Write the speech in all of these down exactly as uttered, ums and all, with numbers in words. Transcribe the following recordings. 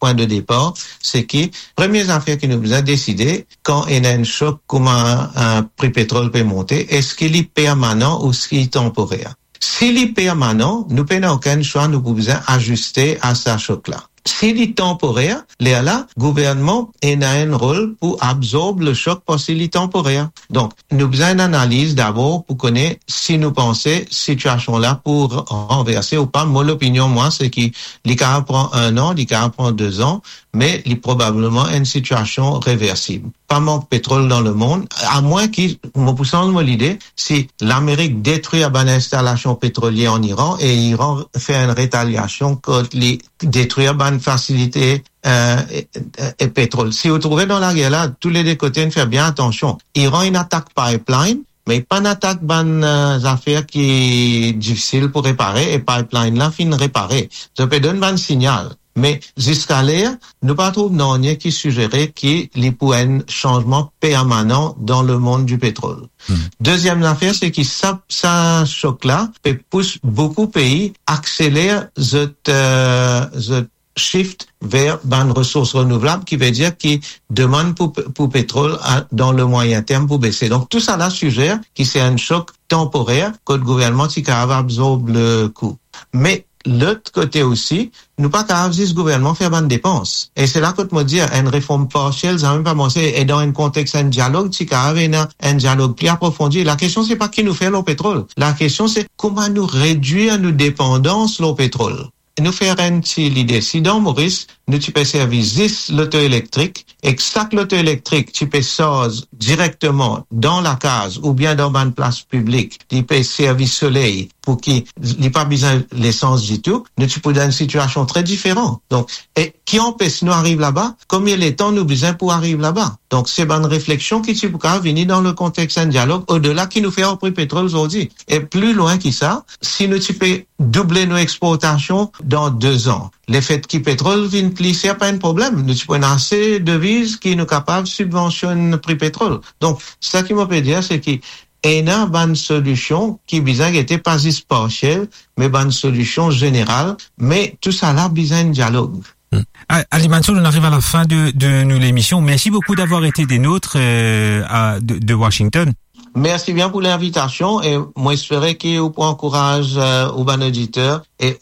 pwin de depar, se ki premie zafer ki nou bizin deside, kan ena enn sok kouma, eh, pri petrol pe monte, eski li permanan ou eski li tanporer? Si li permanan, nou pena okenn swa, nou pou bizin aziste a sa sok la. Si li tanporer, lerla, gouvernman ena enn rol pou absorb le sok parski li tanporer. Donk, nou bizin enn analiz dabor pou kone si nou panse sitiasion la pou ranverse ou pa. Mo lopinion, mwa, se ki li kapav pran enn an, li kapav pran de zan, me li probableman enn sitiasion reversib. Pa mank petrol dan lemond, amwin ki, mo pou sanz mo lide, si Lamerik detrir bann instalasion petrolie an Iran e Iran fer enn retaliasion kot li detrir bann fasilite, eh, e, e, e petrol. Si ou trouve dan lager la, tou le de kote, nou fer bien atansion. Iran inn atak pipeline, me li pa'nn atak bann, eh, zafer ki difisil pou repare, e pipeline la finn repare. Zot pe donn bann signal. Me ziska ler, nou pa trouv nanye ki sizere ki li pou enn sanzman permanan dan lemond di petrol. Hmm. Deziem zafer, se ki sa, sa sok la pe pous boukou pei akseler zot, eh, zot shift ver bann resours renouvlab, ki vedir ki demann pou, pou petrol a, dan le mwayin term pou bese. Donk, tou sa la sizer ki se enn sok tanporer, kot gouvernman ti kapav absorb le kou. Me lot kote osi, nou pa kapav zis gouvernman fer bann depans. E se la kot mo dir, enn reform parsiel, zame pa manse, e dan enn kontex enn dialog, ti kapav ena enn dialog pli aprofondi. Lakestion, se pa ki nou fer lor petrol. Lakestion, se kouma nou redwir nou depandans lor petrol. Nou fer enn ti lide. Si dan Moris, nou ti pe servi zis loto elektrik, ek sak loto elektrik ti pe sarz direkteman dan lakaz oubien dan bann plas piblik, li pe servi soley pou ki li pa bizin lesans ditou, nou ti pou dan enn sitiasion tre diferan. Donk, e ki anpes nou ariv laba? Konbien letan nou bizin pou ariv laba? Donk, se bann refleksion ki ti pou kapav vini dan le kontex enn dialog, odela ki nou fer ar pri petrol zordi. E pli lwin ki sa, si nou ti pe double nou exportasion dan de zan, lefet ki petrol vinn pli ser pa enn problem. Nou ti pou ena ase deviz ki nou kapav sibvansionn pri petrol. Donk, sa ki mo pe dir, se ki ena bann solision ki bizin gete pa zis parsiel, me bann solision zeneral, me tou sa la bizin enn dialog. Hmm. A-, Ali Mansour, on arrive à la fin de, de nou lemision. Merci beaucoup d'avoir été des nôtres, euh, à, de, de Washington. Mersi bien pou linvitasion e mo espere ki ou pou ankouraz, eh, ou bann oditer e,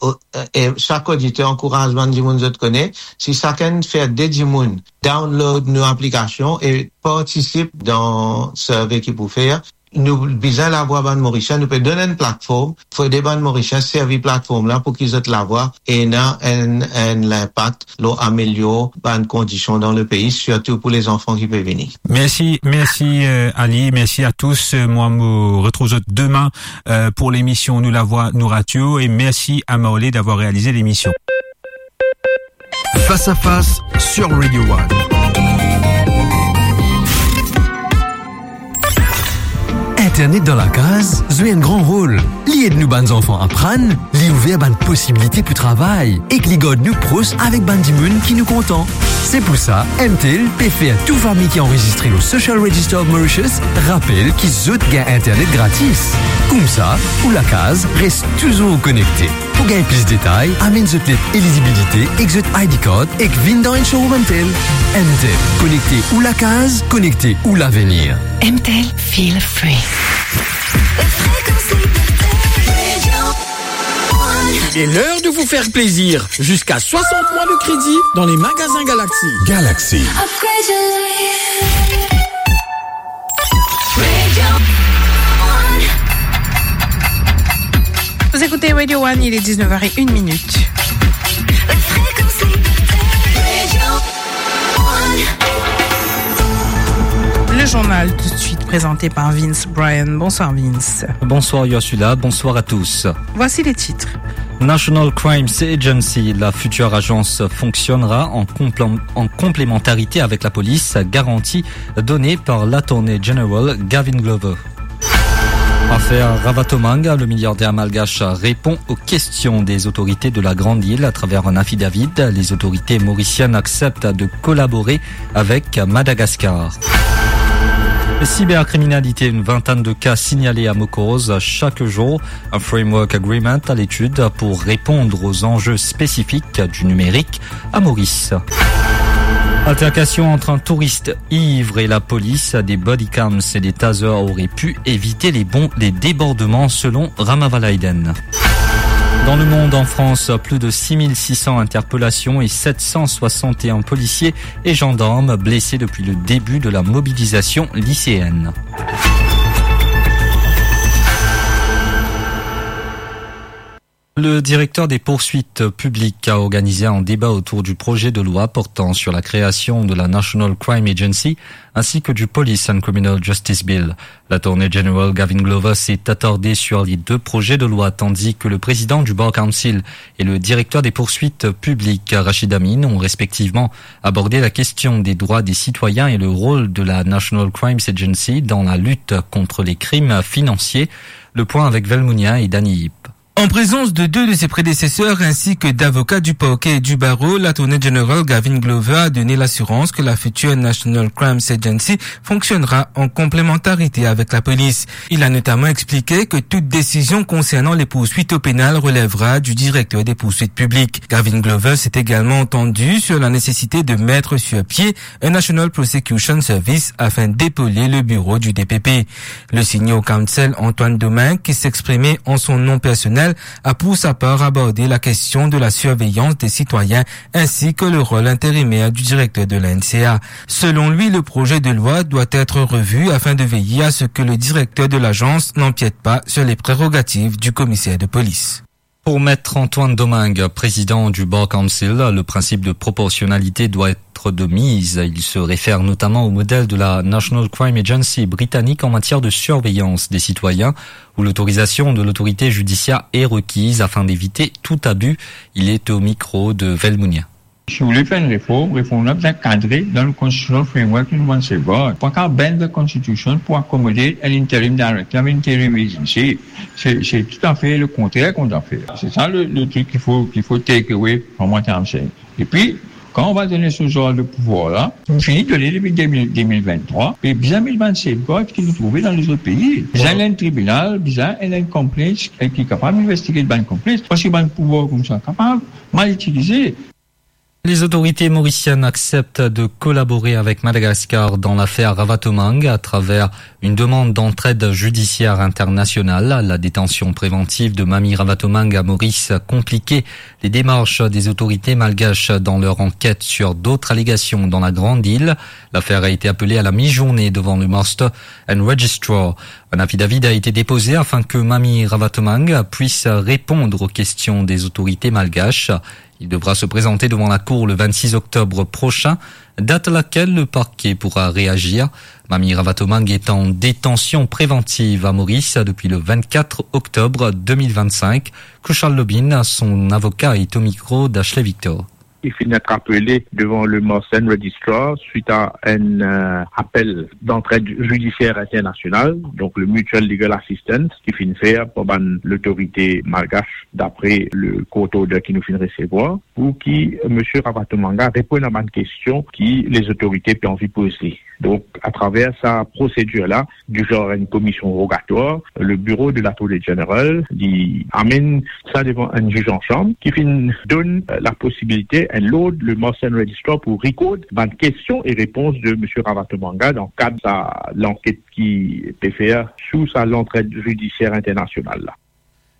e sak oditer ankouraz bann dimoun zot kone. Si sakenn fer de dimoun download nou aplikasion e partisip dan survey ki pou fer, nou bizin lavwa bann Morisien, nou pe donn enn platform, fode bann Morisien servi platform la pou ki zot lavwa ena enn, enn linpak lor amelior bann kondision dan lepei, sirtou pou lezanfan ki pe vini. Merci, merci, euh, Ali, merci à tous. Euh, moi, me retrouve demain, euh, pour l'émission Nou Lavwa Nou Radio et merci à Maolé d'avoir réalisé l'émission. Face à face sur Radio One. Internet dan lakaz zwe enn gran rol. Li ed nou bann zanfan aprann, li ouver bann posibilite pou travay, ek li gard nou pros avek bann dimoun ki nou kontan. Se pou sa, M T L pe fer tou fami ki anrezistre lor Social Register of Mauritius rapel ki zot gagn internet gratis. Koumsa, ou lakaz res touzour konekte. Pou gagn plis detay, amenn zot let elizibilite ek zot I D card ek vinn dan enn showroom M T L. M T L, konekte ou lakaz, konekte ou lavenir. M T L, feel free. Il est l'heure de vous faire plaisir. Jusqu'à soixante mois de crédit dans les magasins Galaxy. Galaxy. Vous écoutez Radio One, il est dix-neuf heures et une minute. Le journal tout de suite présenté par Vince Bryan. Bonsoir Vince. Bonsoir Ursula, bonsoir à tous. Voici les titres. National Crimes Agency, la future agence, fonctionnera en complé-, en complémentarité avec la police, garantie donnée par l'Attorney General Gavin Glover. Affaire Ravatomange, le milliardaire malgache répond aux questions des autorités de la Grande Île à travers un affidavit. Les autorités mauriciennes acceptent de collaborer avec Madagascar. Cybercriminalité, une vingtaine de cas signalés à Mokoz chaque jour. Un framework agreement à l'étude pour répondre aux enjeux spécifiques du numérique à Maurice. Altercation entre un touriste ivre et la police. Des bodycams et des tasers auraient pu éviter les bons, les débordements, selon Ramavalaiden. Dans le monde, en France, plus de six mille six cents interpellations et sept cent soixante et un policiers et gendarmes blessés depuis le début de la mobilisation lycéenne. Le directeur des poursuites publiques a organisé un débat autour du projet de loi portant sur la création de la National Crime Agency ainsi que du Police and Criminal Justice Bill. L'Attorney General Gavin Glover s'est attardé sur les deux projets de loi, tandis que le président du Bar Council et le directeur des poursuites publiques, Rachid Amin, ont respectivement abordé la question des droits des citoyens et le rôle de la National Crimes Agency dans la lutte contre les crimes financiers. Le point avec Velmounia et Dany Yip. En présence de deux de ses prédécesseurs ainsi que d'avocats du parquet et du barreau, l'Attorney General Gavin Glover a donné l'assurance que la future National Crimes Agency fonctionnera en complémentarité avec la police. Il a notamment expliqué que toute décision concernant les poursuites au pénal relèvera du directeur des poursuites publiques. Gavin Glover s'est également entendu sur la nécessité de mettre sur pied un National Prosecution Service afin d'épauler le bureau du D P P. Le senior counsel Antoine Domingue, qui s'exprimait en son nom personnel, a pour sa part abordé la question de la surveillance des citoyens ainsi que le rôle intérimaire du directeur de la N C A. Selon lui, le projet de loi doit être revu afin de veiller à ce que le directeur de l'agence n'empiète pas sur les prérogatives du commissaire de police. Pour Maître Antoine Domingue, président du Bar Council, le principe de proportionnalité doit être de mise. Il se réfère notamment au modèle de la National Crime Agency britannique en matière de surveillance des citoyens, où l'autorisation de l'autorité judiciaire est requise afin d'éviter tout abus. Il est au micro de Velmounia. Si ou vle fer enn reform, reform la bizin kadre dan le constitutional framework ki nou bann safeguard. Pa kapav bend the constitution pou akomode enn interim director, enn interim agency. Se, se toutafe le kontrer ki ou dwa fer. Se sa le, le trik ki fo, ki fo take away from what I'm saying. Epi, kan ou va donn se zanr de pouvwar la, fini donn li depi de mil, de mil venntrwa, e bizin met bann safeguard ki nou trouve dan lezot pei. Bizin enn tribinal, bizin enn complaints ki kapav investigate bann complaints, parski bann pouvwar koumsa kapav mal itilize. Les autorités mauriciennes acceptent de collaborer avec Madagascar dans l'affaire Ravatomange à travers une demande d'entraide judiciaire internationale. La détention préventive de Mami Ravatomange à Maurice a compliqué les démarches des autorités malgaches dans leur enquête sur d'autres allégations dans la Grande Île. L'affaire a été appelée à la mi-journée devant le Master and Registrar. Un affidavit a été déposé afin que Mami Ravatomange puisse répondre aux questions des autorités malgaches. Il devra se présenter devant la cour le vingt-six octobre prochain, date à laquelle le parquet pourra réagir. Mami Ravatomange est en détention préventive à Maurice depuis le vingt-quatre octobre deux mille vingt-cinq. Kushal Lobin, son avocat, est au micro d'Ashley Victor. Li finn interpele devan le Master and Registrar suit a enn, euh, appel d'entraide judiciaire internationale, donc le Mutual Legal Assistance, ki finn fer par bann lotorite malgache, dapre le court order ki nou finn resevwar, pou ki Msye Ravatomange reponn a bann kestion ki lezotorite pe anvi poze. Donk, atraver sa prosedir la, du genre enn komision rogatwar, le biro de l'Attorney General, li amenn sa devan enn ziz ansanm, ki finn donn, euh, laposibilite enn lord le Master and Registrar pou record bann kestion e repons de Msye Ravatomange dan kad sa lanket ki pe fer sou sa lantraide judisier internasional la.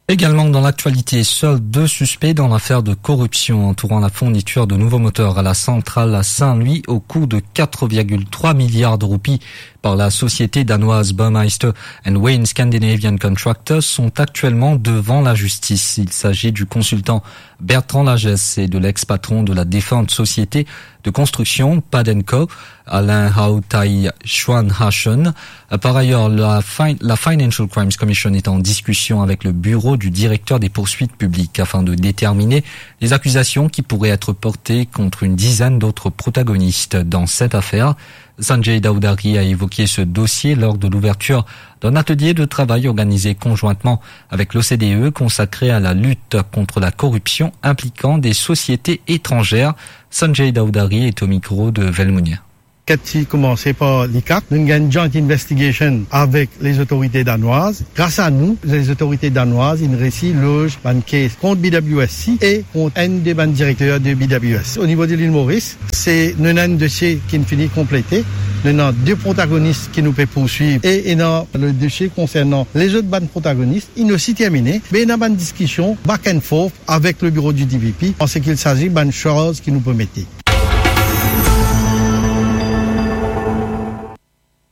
Également dans l'actualité, seuls deux suspects dans l'affaire de corruption entourant la fourniture de nouveaux moteurs à la centrale à Saint-Louis au coût de quatre virgule trois milliards de roupies par la société danoise Burmeister and Wain Scandinavian Contractors sont actuellement devant la justice. Il s'agit du consultant Bertrand Lagesse et de l'ex-patron de la défunte société de construction Padenco, Alain Hautai Chuan Hashen. Par ailleurs, la fin-, la Financial Crimes Commission est en discussion avec le bureau du directeur des poursuites publiques afin de déterminer les accusations qui pourraient être portées contre une dizaine d'autres protagonistes dans cette affaire. Sanjay Dawdari a évoqué ce dossier lors de l'ouverture d'un atelier de travail organisé conjointement avec l'O C D E consacré à la lutte contre la corruption impliquant des sociétés étrangères. Sanjay Dawdari est au micro de Velmounia. Kat ti koumanse par l'I C A C, nou gagn joint investigation avek lezotorite danwaz. Gras a nou, lezotorite danwaz inn resi loz bann kes kont B W S C e kont enn de bann direkter de B W S C. O nivo de lil Moris, se nou ena enn dosie ki finn fini konplete. Nou ena de protagonis ki nou pe pourswiv e ena le dosie konsernan lezot bann protagonis, inn osi termine. Me ena bann diskision back and forth avek le biro du D P P an seki il sazi bann charz ki nou pe mete.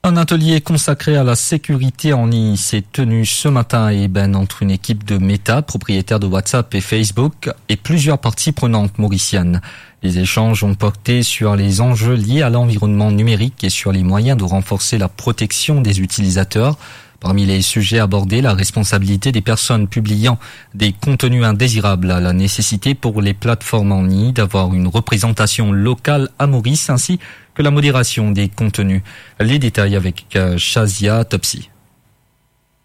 Un atelier consacré à la sécurité en ligne s'est tenu ce matin à Ébène entre une équipe de Meta, propriétaire de WhatsApp et Facebook, et plusieurs parties prenantes mauriciennes. Les échanges ont porté sur les enjeux liés à l'environnement numérique et sur les moyens de renforcer la protection des utilisateurs. Parmi les sujets abordés, la responsabilité des personnes publiant des contenus indésirables, la nécessité pour les plateformes en ligne d'avoir une représentation locale à Maurice, ainsi que la modération des contenus. Les détails avec, euh, Shazia Topsy.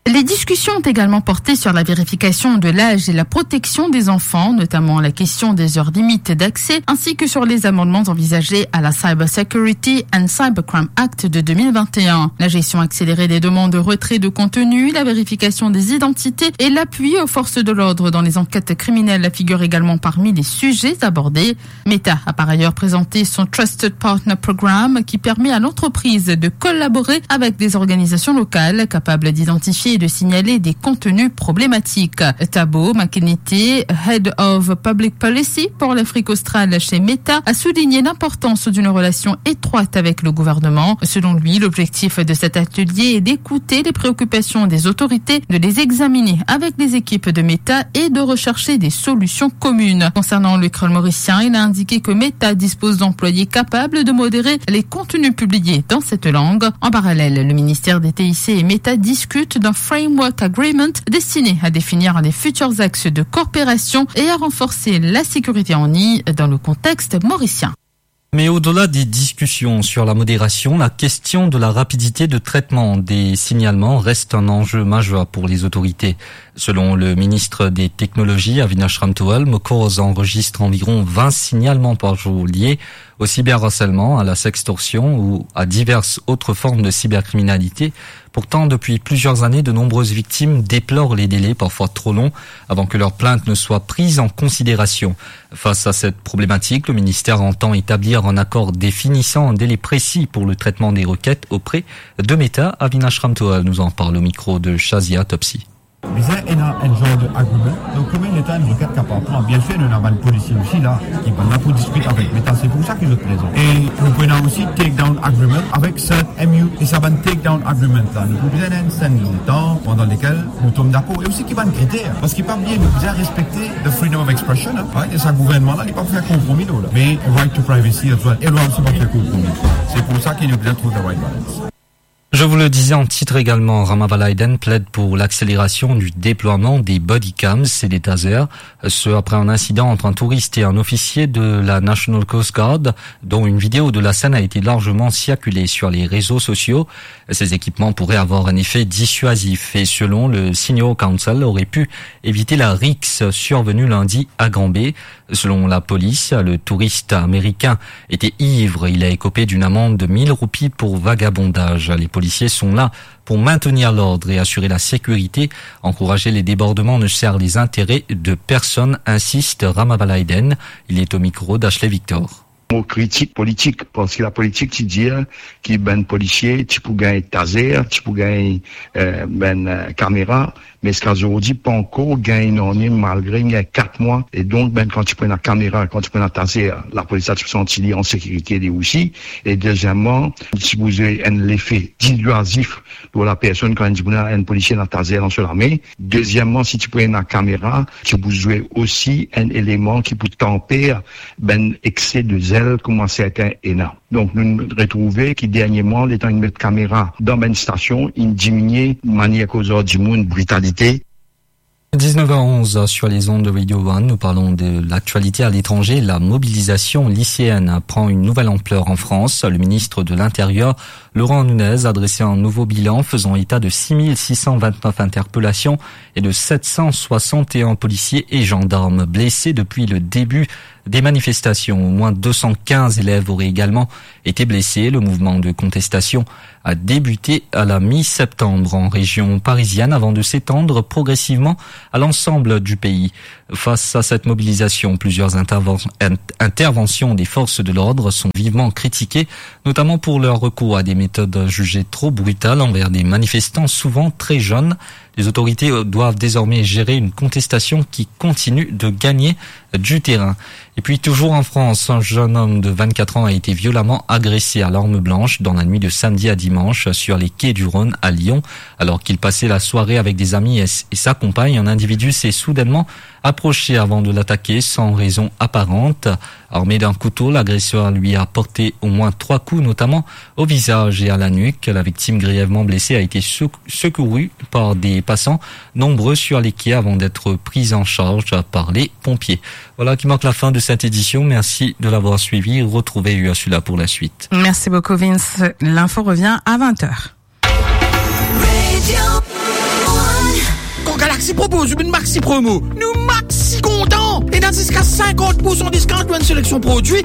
Les discussions ont également porté sur la vérification de l'âge et la protection des enfants, notamment la question des heures limites d'accès, ainsi que sur les amendements envisagés à la Cyber Security and Cybercrime Act de deux mille vingt et un. La gestion accélérée des demandes de retrait de contenu, la vérification des identités et l'appui aux forces de l'ordre dans les enquêtes criminelles figurent également parmi les sujets abordés. Meta a par ailleurs présenté son Trusted Partner Program, qui permet à l'entreprise de collaborer avec des organisations locales capables d'identifier et de signaler des contenus problématiques. Tabo Makenete, Head of Public Policy pour l'Afrique australe chez Meta, a souligné l'importance d'une relation étroite avec le gouvernement. Selon lui, l'objectif de cet atelier est d'écouter les préoccupations des autorités, de les examiner avec les équipes de Meta et de rechercher des solutions communes. Concernant le Créole Mauricien, il a indiqué que Meta dispose d'employés capables de modérer les contenus publiés dans cette langue. En parallèle, le ministère des T I C et Meta discutent d'un framework agreement destiné à définir les futurs axes de coopération et à renforcer la sécurité en ligne dans le contexte mauricien. Mais au-delà des discussions sur la modération, la question de la rapidité de traitement des signalements reste un enjeu majeur pour les autorités. Selon le ministre des Technologies, Avinash Ramtohal, Mokroz enregistre environ vingt signalements par jour liés au cyberharcèlement, à la sextorsion ou à diverses autres formes de cybercriminalité. Pourtant, depuis plusieurs années, de nombreuses victimes déplorent les délais parfois trop longs avant que leur plainte ne soit prise en considération. Face à cette problématique, le ministère entend établir un accord définissant un délai précis pour le traitement des requêtes auprès de Meta. Avinash Ramtohal nous en parle au micro de Shazia Topsy. Bizin ena enn zar de agreement. Donk, kouma enn leta enn requête kapav pran? Bien sûr, nou ena bann polisie osi la, ki bann la pou diskit avek Meta, se pou sa ki zot prezan. E nou pou ena osi take down agreement avek sa M U, e sa bann take down agreement la, nou pou bizin ena enn sertenn letan pandan lekel nou tom dakor. E osi ki bann kriter, parski pa bliye, nou bizin respekte the freedom of expression, hein, right? E sa gouvernman la, li pa fer konpromi lor la. Me right to privacy as well, e lwa osi pa fer konpromi. Se pou sa ki nou bizin trouv the right balance. Je vous le disais en titre également, Ramavalayden plaide pour l'accélération du déploiement des body cams et des tasers, ce après un incident entre un touriste et un officier de la National Coast Guard, dont une vidéo de la scène a été largement circulée sur les réseaux sociaux. Ces équipements pourraient avoir un effet dissuasif et, selon le Senior Counsel, auraient pu éviter la rixe survenue lundi à Granby. Selon la police, le touriste américain était ivre. Il a écopé d'une amende de mille roupies pour vagabondage. Les policiers sont là pour maintenir l'ordre et assurer la sécurité. Encourager les débordements ne sert les intérêts de personne, insiste Ramavalayden. Il est au micro d'Ashley Victor. Mo kritik politik, parski lapolitik ti dir ki bann polisie ti pou gagn taser, ti pou gagn, eh, bann, eh, kamera, me ziska zordi pa ankor gagn nanye, malgre gagn kat mwa. E donk, bann, kan ti pou ena kamera, kan ti pou ena taser, lapolis la ti pou santi li an sekirite li osi. E dezieman, ti pou zwe enn lefe diswazif lor lapersonn, kan enn dimoun, enn polisie ena taser dan so lame. Dezieman, si ti pou ena kamera, ti pou zwe osi enn eleman ki pou tanper bann ekse de zel kouma sertin ena. Donk, nou retrouve ki dernieman, letan inn met kamera dan bann stasion, inn diminie manier koz ar dimoun, britalite. Dix-neuf heures onze sur les ondes de Radio One, nous parlons de l'actualité à l'étranger. La mobilisation lycéenne prend une nouvelle ampleur en France. Le ministre de l'Intérieur, Laurent Nunez, a dressé un nouveau bilan faisant état de six mille six cent vingt-neuf interpellations et de sept cent soixante et un policiers et gendarmes blessés depuis le début des manifestations. Au moins deux cent quinze élèves auraient également été blessés. Le mouvement de contestation a débuté à la mi-septembre en région parisienne avant de s'étendre progressivement à l'ensemble du pays. Face à cette mobilisation, plusieurs interven-, in-, interventions des forces de l'ordre sont vivement critiquées, notamment pour leur recours à des méthodes jugées trop brutales envers des manifestants souvent très jeunes. Les autorités, euh, doivent désormais gérer une contestation qui continue de gagner du terrain. Et puis, toujours en France, un jeune homme de vingt-quatre ans a été violemment agressé à l'arme blanche dans la nuit de samedi à dimanche sur les quais du Rhône à Lyon, alors qu'il passait la soirée avec des amis et s-, et sa compagne. Un individu s'est soudainement approché avant de l'attaquer sans raison apparente. Armé d'un couteau, l'agresseur lui a porté au moins trois coups, notamment au visage et à la nuque. La victime grièvement blessée a été sec-, secourue par des passants nombreux sur les quais avant d'être prise en charge par les pompiers. Voilà qui marque la fin de cette édition. Merci de l'avoir suivi. Retrouvez Ursula pour la suite. Merci beaucoup, Vince. L'info revient à vingt heures. Kan Galaxy propoz ou une maxi promo, nou maxi kontan. Ena ziska sinkant pour san discount ou enn seleksion prodwi.